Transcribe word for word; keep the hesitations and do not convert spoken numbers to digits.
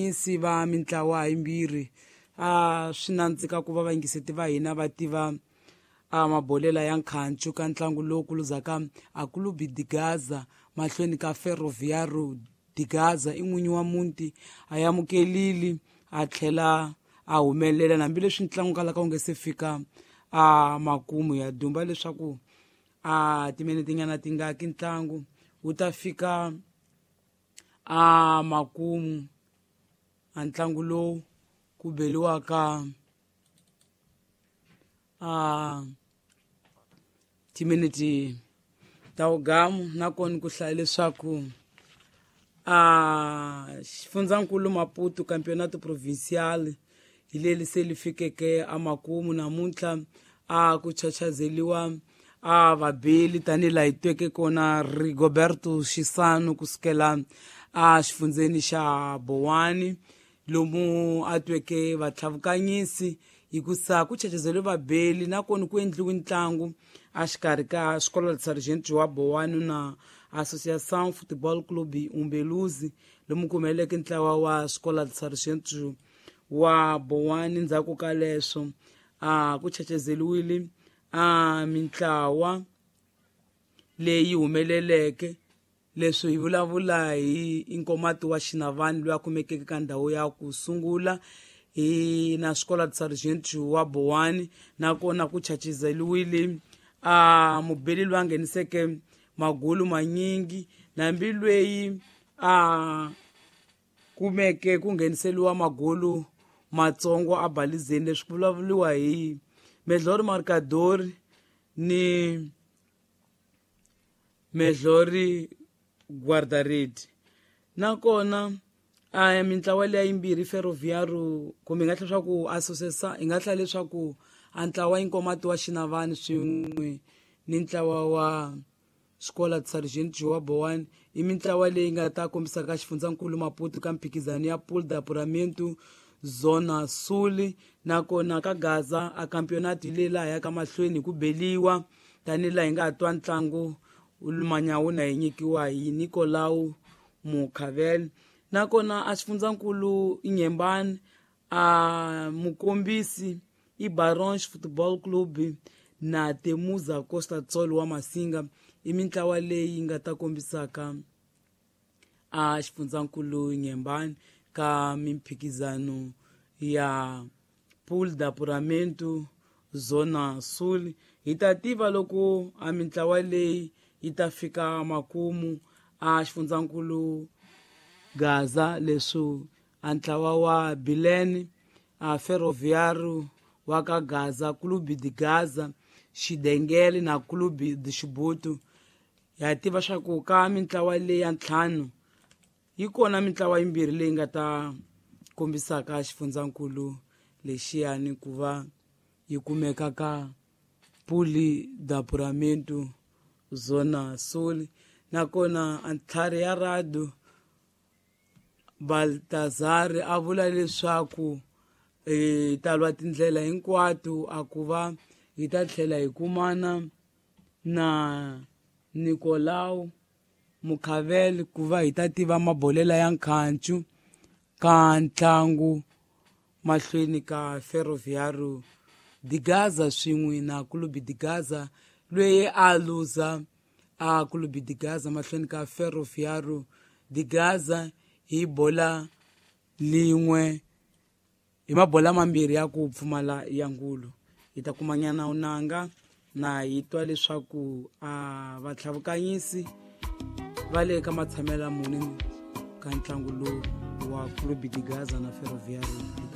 Vatlhavukanyisi va mintlawa yimbirhi a swi nandzika ku va vayingiseti va hina va tiva a mabolela ya nkhancu ka ntlangu lowu kuluzaka a Clube de Gaza mahlweni ka Ferroviário de Gaza. I n'winyi wa muti a amukelile a tlhela a humelela hambileswi ntlangu kalaka wu nge se fika a makumu. Ya dumba leswaku a timinete tingaki ntlangu wu ta fika a makumu a ntlangu lowu ku beliwaka a timinete ta wugamu. Nakona ku hlaya leswaku a xifundzankulu Maputo Campeonato Provincial hi leri se li fikeke amakumu namuntlha a ku chachazeliwa a vabeli tanihi laha hi tweke kona Rigoberto Xisano kusukela a xifundzeni xa Bowani lomu a tweke vatlhavukanyisi hikusa ku chachazeliwe vabeli. Nakona ku endliwe ntlangu a xikarhi ka Escola de Sargento wa Bowani na Associação Futebol Clube Umbeluzi lomu ku humeleleke ntlawa wa Escola de Sargento wa Bowani. Ndzhaku ka leswo a ku chachazeliwile a mintlawa leyi humeleleke. Leswi hi vulavula hi Inkomati wa Xinavani loyi a kumekeke ka ndhawu ya ku sungula hi na Escola de Sargento wa Bowani. Nakona ku chachazeliwile a mubeli loyi a ngheniseke magulu manyingi nambi lweyi a kumeke ku ngheniseliwa magulu matsongo a balizeni. Leswi ku vulavuriwa hi Melhor Marcador ni Melhor Guarda-rede. Nakona a mintlawa leya yimbirhi Ferroviário kumbe hi nga hlaya leswaku associação hi nga hlaya leswaku a ntlawa Inkomati wa Xinavani swin'we ni ntlawa wa Escola de Sargento wa Bowani i mintlawa leyi nga ta kombisaka xifundzankulu Maputo ka mphikizano ya Pool de Apuramento Zona Sul. Nakona ka Gaza a campeonato hi leyi laha yaka mahlweni hi ku beliwa tanihi laha hi nga twa ntlangu manyawuna hi nyikiwa hi Nicolau Mukhavel. Nakona a xifundzankulu Inhembane a mukombisi i Barons Football Club na Temuza Costa Tsolo wa Masinga i mintlawa leyi nga ta kombisaka a xifundzankulu Inhembane ka mimphikizano ya Pool de Apuramento Zona Sul. Hi ta tiva loko a mintlawa leyi yi ta fika makumu a xifundzankulu Gaza. Leswi a ntlawa wa Bilene a Ferroviário wa ka Gaza, Clube de Gaza, Xidengele na Clube de Xibuto. Ha tiva swa ku ka mintlawa leyi ya ntlhanu yi kona mintlawa yimbirhi leyi nga ta kombisaka xifundzankulu lexiyani ku va yi kumeka ka Pool de Apuramento Zona Sul. Nakona a ntlhari ya Rado Baltazar a vula leswaku hi ta lwa tindlela hinkwato a ku va hi ta tlhela hi kumana na Nicolau Mukhavel ku va hi ta tiva mabolela ya nkhancu ka ntlangu mahlweni ka Ferroviário de Gaza swin'we na Clube de Gaza loyi a luza a Clube de Gaza mahlweni ka Ferroviário de Gaza hi bola lin'we hi mabola mambirhi ya ku pfumala ya ngulu. Hi ta kumanyana unanga na hi twa leswaku a vatlhavukanyisi va le ka matshamelo muni ka ntlangu lowu wa Clube de Gaza na Ferroviário.